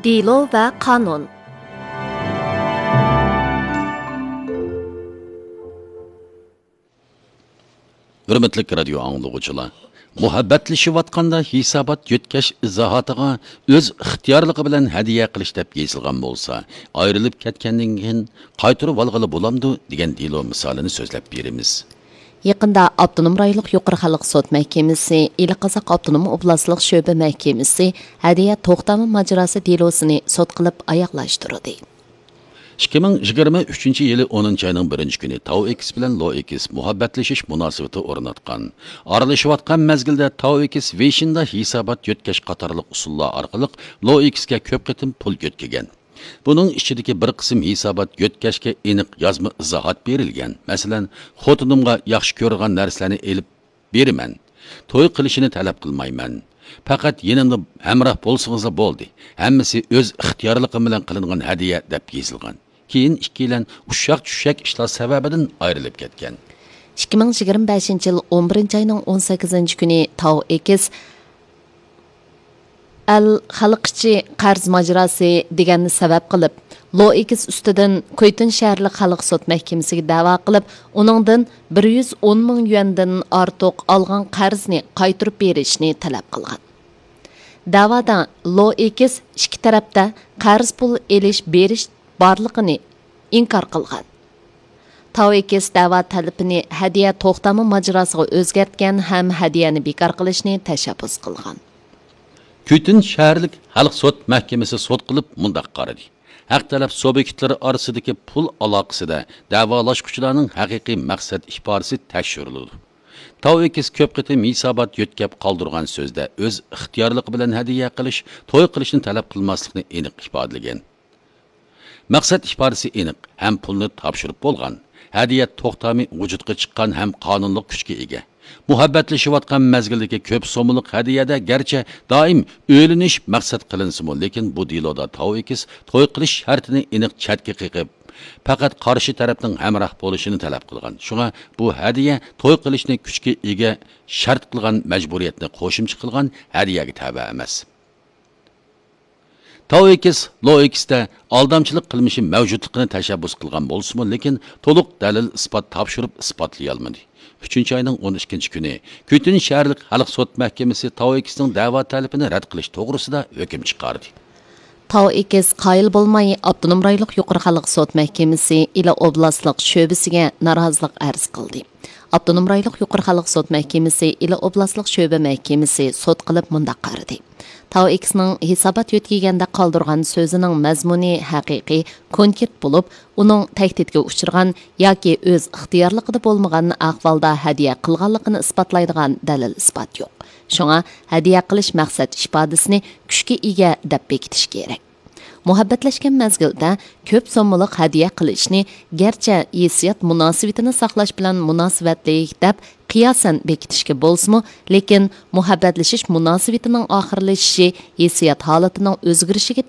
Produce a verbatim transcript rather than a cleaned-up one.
دېلو ۋە قانۇن. ھۆرمەتلىك رادىيو ئاڭلىغۇچىلار، مۇھەببەتلىشىۋاتقاندا ھېسابات يۆتكەش ئىزاھاتىغا «ئۆز ئىختىيارلىقى بىلەن ھەدىيە قىلىش» دەپ يېزىلغان بولسا، ئايرىلىپ كەتكەندىن كېيىن قايتۇرۇۋالغىلى بولامدۇ دېگەن دېلو مىسالىنى سۆزلەپ بېرىمىز. يېقىندا ئاپتونوم رايونلۇق يۇقىرى خەلق سوت مەھكىمىسى، ئىلى قازاق ئاپتونوم ئوبلاستلىق شۆبە مەھكىمىسى ھەدىيە توختامى ماجىراسى دېلوسىنى سوت قىلىپ ئاياغلاشتۇردى. ئىككى مىڭ يىگىرمە ئۈچىنچى يىلى ئونىنچى ئاينىڭ بىرىنچى كۈنى تاۋ ئېكس بىلەن لو ئېكس مۇھەببەتلىشىش مۇناسىۋىتى ئورناتقان. ئارىلىشىۋاتقان مەزگىلدە تاۋ ئېكس ۋېيشىندا ھېسابات يۆتكەش قاتارلىق ئۇسۇللار ئارقىلىق لو ئېكسكە كۆپ قېتىم پۇل يۆتكىگەن. بۇنىڭ ئىچىدىكى بىر قىسىم ھېسابات يۆتكەشكە ئېنىق يازما ئىزاھات بېرىلگەن. مەسىلەن، «خوتۇنۇمغا ياخشى كۆرىدىغان نەرسىلەرنى ئېلىپ بېرىمەن. توي قىلىشىنى تەلەپ قىلمايمەن. پەقەت يېنىمدا ھەمراھ بولسىڭىزلا بولدى. ھەممىسى ئۆز ئىختىيارلىقىم بىلەن قىلىنغان ھەدىيە» دەپ يېزىلغان. كېيىن ئىككىيلەن ئۇششاق-چۈششەك ئىشلار سەۋەبىدىن ئايرىلىپ كەتكەن. ئىككى مىڭ يىگىرمە بەشىنچى يىل ئون بىرىنچى ئاينىڭ ئون سەككىزىنچى كۈنى تاۋ ئېكس ئەل خەلق ئىچى قەرز ماجىراسى دېگەننى سەۋەب قىلىپ، لو ئېكس ئۈستىدىن كۇيتۇن شەھەرلىك خەلق سوت مەھكىمىسىگە دەۋا قىلىپ، ئۇنىڭدىن بىر يۈز ئون مىڭ يۈەندىن ئارتۇق ئالغان قەرزنى قايتۇرۇپ بېرىشنى تەلەپ قىلغان. دەۋادا لو ئېكس ئىككى تەرەپتە قەرز پۇل ئېلىش بېرىش بارلىقىنى ئىنكار قىلغان. تاۋ ئېكس دەۋا تەلىپىنى ھەدىيە توختامى ماجىراسىغا ئۆزگەرتكەن ھەم ھەدىيەنى بىكار قىلىشنى تەشەببۇس قىلغان. كۈيتۈن شەھەرلىك خەلق سوت مەھكىمىسى سوت قىلىپ مۇنداق قارىدى: ھەق تەرەپ سۇبيېكتلىرى ئارىسىدىكى پۇل ئالاقىسىدە دەۋالاشقۇچىلارنىڭ ھەقىقىي مەقسەت ئىپادىسى تەكشۈرۈلىدۇ. تاۋ ئېكس كۆپ قېتىم ھېسابات يۆتكەپ قالدۇرغان سۆزدە ئۆز ئىختىيارلىقى بىلەن ھەدىيە قىلىش، توي قىلىشنى تەلەپ قىلماسلىقنى ئېنىق ئىپادىلىگەن. مەقسەت ئىپادىسى ئېنىق ھەم پۇلنى تاپشۇرۇپ بولغان. ھەدىيە توختامى ۋۇجۇدقا چىققان ھەم قانۇنلۇق كۈچكە ئىگە. مۇھەببەتلىشىۋاتقان مەزگىلدىكى كۆپ سوممىلىق ھەدىيەدە گەرچە دائىم ئۆيلىنىش مەقسەت قىلىنسىمۇ، لېكىن بۇ دېلودا تاۋ ئېكس توي قىلىش شەرتىنى ئېنىق چەتكە قېقىپ، پەقەت قارشى تەرەپنىڭ ھەمراھ بولۇشىنى تەلەپ قىلغان. شۇڭا بۇ ھەدىيە توي قىلىشنى كۈچكە ئىگە شەرت قىلغان مەجبۇرىيەتنى قوشۇمچە قىلغان ھەدىيەگە تەۋە ئەمەس. تاۋ ئېكس لو ئېكستە ئالدامچىلىق قىلمىشى مەۋجۇتلۇقىنى تەشەببۇس قىلغان بولسىمۇ، لېكىن تولۇق دەلىل ئىسپات تاپشۇرۇپ ئىسپاتلىيالمىدى. ئۈچىنچى ئاينىڭ ئون ئىككىنچى كۈنى كۈيتۈن شەھەرلىك خەلق سوت مەھكىمىسى تاۋ ئېكسنىڭ دەۋا تەلىپىنى رەت قىلىش توغرىسىدا ھۆكۈم چىقاردى. تاۋ ئېكس قايىل بولماي، ئاپتونوم رايونلۇق يۇقىرى خەلق سوت مەھكىمىسى ئىلى ئوبلاستلىق شۆبىسىگە نارازىلىق ئەرز قىلدى. ئاپتونوم رايونلۇق يۇقىرى خەلق سوت مەھكىمىسى ئىلى ئوبلاستلىق شۆبە مەھكىمىسى سوت قىلىپ مۇنداق قارىدى: تاۋ ئېكسنىڭ ھېسابات يۆتكىگەندە قالدۇرغان سۆزىنىڭ مەزمۇنى ھەقىقىي، كونكرېت بولۇپ، ئۇنىڭ تەھدىتكە ئۇچرىغان ياكى ئۆز ئىختىيارلىقىدا بولمىغان ئەھۋالدا ھەدىيە قىلغانلىقىنى ئىسپاتلايدىغان دەلىل-ئىسپات يوق. شۇڭا ھەدىيە قىلىش مەقسەت ئىپادىسىنى كۈچكە ئىگە دەپ بېكىتىش كېرەك. مۇھەببەتلەشكەن مەزگىلدە كۆپ سوممىلىق ھەدىيە قىلىشنى گەرچە ھېسسىيات مۇناسىۋىتىنى ساقلاش بىلەن مۇناسىۋەتلىك دەپ قىياسەن بېكىتىشكە بولسىمۇ، لېكىن مۇھەببەتلىشىش مۇناسىۋىتىنىڭ ئاخىرلىشىشى ھېسسىيات ھالىتىنىڭ ئۆزگىرىشىگە